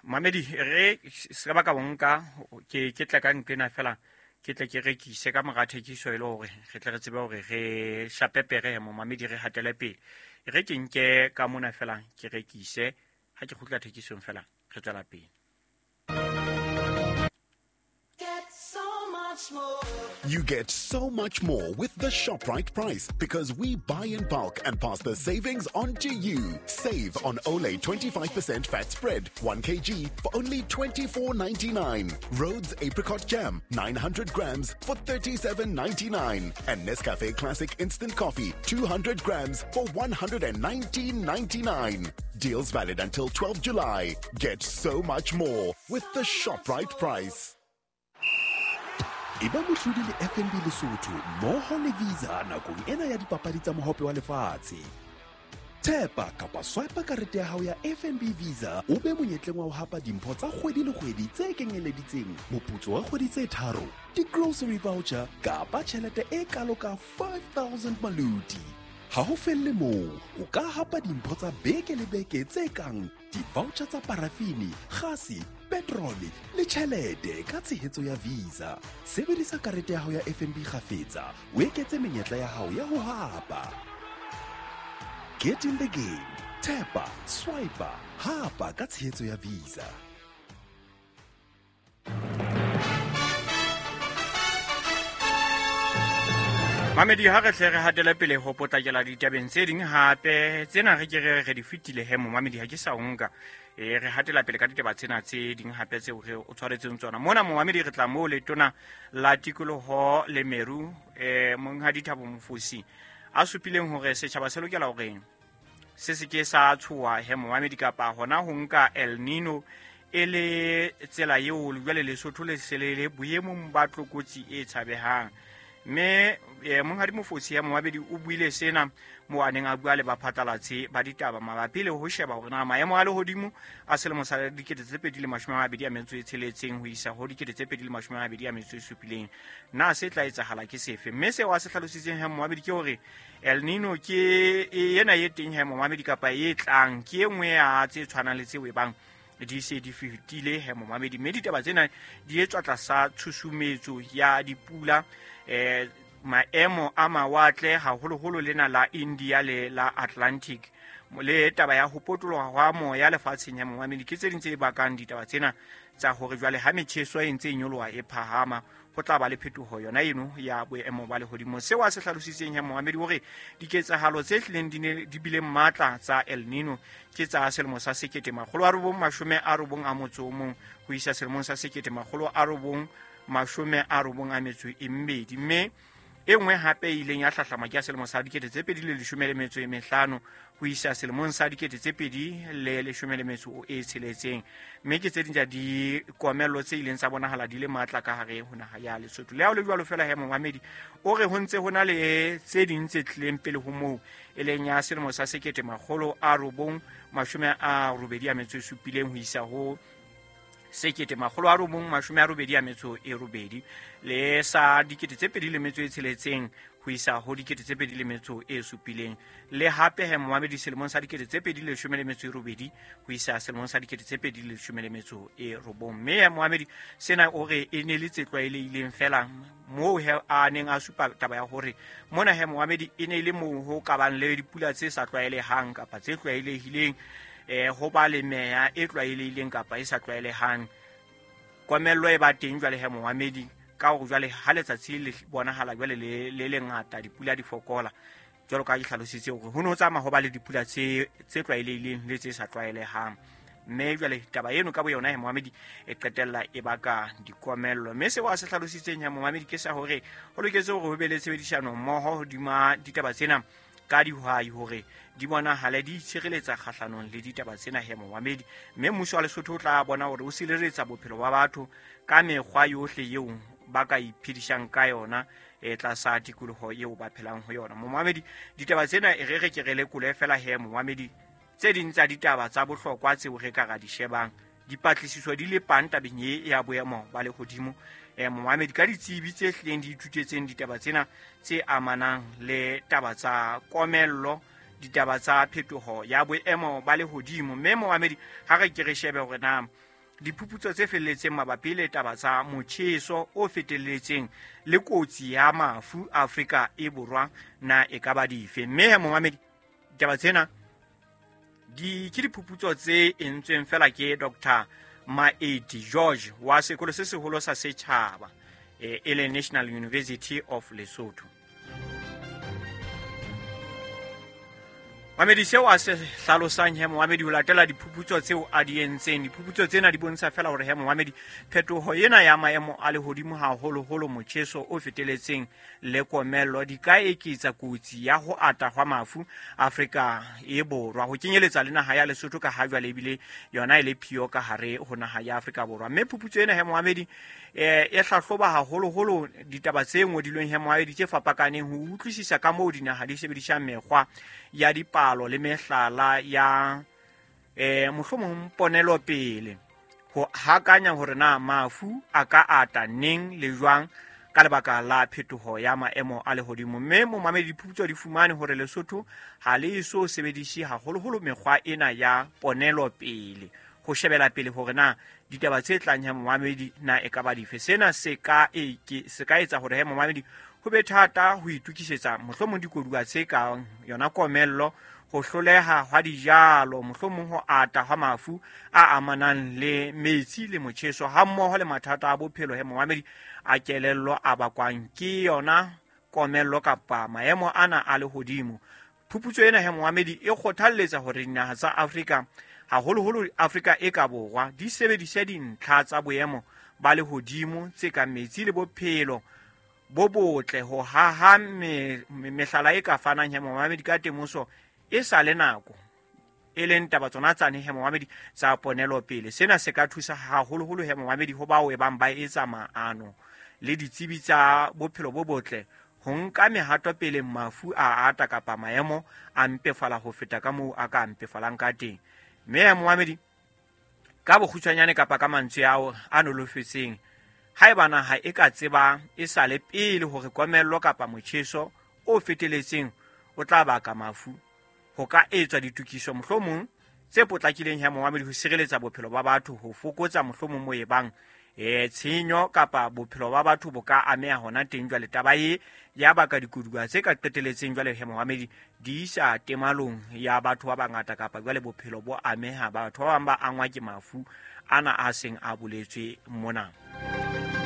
Mamedi re se ba ka bonka ke tla ka nqena fela ke tle ke rekise ka mora thekiso e le hore re tle re tsebe hore re shapepere momamedi re hatele pele. Re ke nke ka mona fela ke rekise ha ke kgutla thekisong fela re tswela pele. You get so much more with the ShopRite price because we buy in bulk and pass the savings on to you. Save on Olay 25% fat spread, 1 kg for only $24.99. Rhodes Apricot Jam, 900 grams for $37.99. And Nescafe Classic Instant Coffee, 200 grams for $119.99. Deals valid until 12 July. Get so much more with the ShopRite price. Eba mohlodi le FNB Lesotho mmoho le Visa nakong ena ya dipapadi tsa mohope wa lefatshe. Thepa kapa swipe karete ya hao ya FNB Visa o be monyetleng wa ho hapa dimpho tsa kgwedi le kgwedi tse kenyeleditseng moputso wa kgwedi tse 3, di-grocery voucher kapa tjhelete e kalo ka 5000 maloti. Ha ho felle moo, o ka hapa dimpho tsa beke le beke tse kang di-voucher tsa parafini, gase, petrole le tjhelete ka tshehetso ya Visa. Sebedisa karete ya hao ya FNB kgafetsa, o eketse menyetla ya hao ya ho hapa. Get in the game. Tap, swipe, hapa ka tshehetso ya Visa. Mamedi ha re hle re hatele pele ho potlakela ditabeng tse ding hape tsena re ke re di fetile he momamedi ha ke sa nka. Re hatela pele ka ditaba tsena tse ding hape tseo re o tshwaretseng tsona. Mona momamedi re tla moo letona la tikoloho le meru Monghadi Thabo Mofosi a supileng hore setjhaba se lokela hore se se ke sa tshoha he momamedi kapa hona ho nka El Nino e le tsela eo jwale Lesotho le se le boemong ba tlokotsi e tshabehang. Mme Monghadi Mofosi ya momamedi o buile sena mo a neng a bua le baphatlalatsi ba ditaba mabapi le ho sheba hore na maemo a lehodimo a selemo sa 2026 ho isa ho 2027 na se tla etsahala ke sefe. Mme seo a se hlalositseng he momamedi ke hore El Nino ke ena e teng he momamedi kapa e tlang ke e nngwe ya tse tshwanang le tseo e bang di se di fetile he momamedi. Mme ditaba tsena di etswa tlasa tshusumetso ya dipula, maemo a mawatle haholoholo lena la India le la Atlantic le taba ya ho potoloha hwa moya lefatsheng ya momamedi ke tse ding tse bakang ditaba tsena tsa hore jwale ha metjheso e ntse e nyoloha e phahama ho tla ba le phetoho yona eno ya boemo ba lehodimo. Seo a se hlalositseng ya momamedi hore diketsahalo tse hlileng di ne di bile matla tsa El Nino ke tsa selemo sa 1991 ho isa selemong sa 1992, mme e nngwe hape e ileng ya hlahlama ke ya selemo sa 2015 ho isa selemong sa 2016, mme ke tse ding tsa dikomello tse ileng tsa bonahala di le matla ka hare ho naha ya Lesotho. Le ha ho le jwalo fela he momamedi o re ho ntse ho na le tse ding tse tlileng pele ho moo e leng ya selemo sa 1987 ho isa ho 1988 le sa 2006 ho isa ho 2007 le hape he momamedi selemong sa 2018 ho isa selemong sa 2019. Mme he momamedi sena o re e ne le tse tlwaelehileng fela moo he a neng a supa taba ya hore mona he momamedi e ne le moo ho ka bang le dipula tse sa tlwaelehang kapa tse tlwaelehileng, ho ba le meya e tlwaelehileng kapa e sa tlwaelehang. Komello e ba teng jwale he momamedi ka hore jwale ha letsatsi le bonahala jwale le lengata dipula di fokola jwalo ka ke hlalositse hore ho no tsamaya ho ba le dipula tse tlwaelehileng le tse sa tlwaelehang. Mme jwale taba eno ka boyona he momamedi e qetella e baka dikomello. Mme seo a se hlalositseng he momamedi ke sa hore ho loketse hore ho be le tshebedisano mmoho hodima ditaba tsena ka dihwai hore di bonahale di itshireletsa kgahlanong le ditaba tsena he momamedi. Mme mmuso wa Lesotho o tla bona hore o sireletsa bophelo ba batho ka mekgwa yohle eo ba ka iphedisang ka yona e tlasa tikoloho eo ba phelang ho yona. Momamedi ditaba tsena e re ke re lekole fela he momamedi tse ding tsa ditaba tsa bohlokwa tseo re ka ra di shebang dipatlisiso di le pang tabeng e ya boemo ba lehodimo. Momamedi ka ditsebi tse hlileng di ithutetseng ditaba tsena tse amanang le taba tsa komello, ditaba tsa phetoho ya boemo ba lehodimo. Mme momamedi, ha re ke re shebe hore na diphuputso tse felletseng mabapi le taba tsa motjheso o fetelletseng le kotsi ya mafu Afrika e Borwa na e ka ba dife. Mme momamedi, ditaba tsena di ke diphuputso tse entsweng fela ke Dr. Maeti George wa sekolo se seholo sa setjhaba e leng National University of Lesotho. Mamedi, seo a se hlalosang he momamedi ho latela diphuputso tseo a di entseng, diphuputso tsena di bontsha fela hore he momamedi phetoho ena ya maemo a lehodimo haholoholo motjheso o feteletseng le komello di ka eketsa kotsi ya ho ata hwa mafu Afrika e Borwa, ho kenyeletsa le naha ya Lesotho ka ha jwale ebile yona e le phio ka hare ho naha ya Afrika Borwa. Mme phuputso ena he momamedi e hlahloba haholoholo ditaba tse ngodilweng he momamedi tse fapakaneng ho utlwisisa ka moo dinaha di sebedisang mekgwa ya dipalo le mehlala ya mohlomong ponelopele ho hakanya hore na mafu a ka ata neng le jwang ka lebaka la phetoho ya maemo a lehodimo. Mme momamedi, diphuputso di fumane hore Lesotho ha le eso sebedise haholoholo mekgwa ena ya ponelopele ho shebela pele hore na ditaba tse tlang he momamedi na e ka ba dife. Sena se ka etsa hore he momamedi ho be thata ho itokisetsa mohlomong dikoduwa tse kang yona komello, ho hloleha hwa dijalo, mohlomong ho ata hwa mafu a amanang le metsi le motjheso, hammoho le mathata a bophelo he momamedi a kelello a bakwang ke yona komello kapa maemo ana a lehodimo. Phuputso ena he momamedi e kgothalletsa hore dinaha tsa Afrika, haholoholo Afrika e ka borwa, di sebedise dintlha tsa boemo ba lehodimo tse kang metsi le bophelo bo botle ho haha mehlala e ka fanang he momamedi ka temoso e sa le nako, e leng taba tsona tsane he momamedi tsa ponelopele. Sena se ka thusa haholoholo he momamedi ho bao e bang ba etsa maano le ditsebi tsa bophelo bo botle ho nka mehato pele mafu a ata kapa maemo a mpefala ho feta ka moo a ka mpefalang ka teng. Mme momamedi, ka bokgutshwanyane kapa ka mantswe ao a nolofetseng, haeba naha e ka tseba e sa le pele hore komello kapa motjheso o feteletseng o tla baka mafu, ho ka etswa ditokiso mohlomong tse potlakileng he momamedi ho sireletsa bophelo ba batho, ho fokotsa mohlomong mo e bang tshenyo kapa bophelo ba batho bo ka ameha hona teng. Jwale taba e ya baka dikoduwa tse ka qeteletseng jwale he momamedi di isa temalong ya batho ba bangata, kapa jwale bophelo bo ameha, batho ba bang ba angwa ke mafu ana a seng a boletswe mona.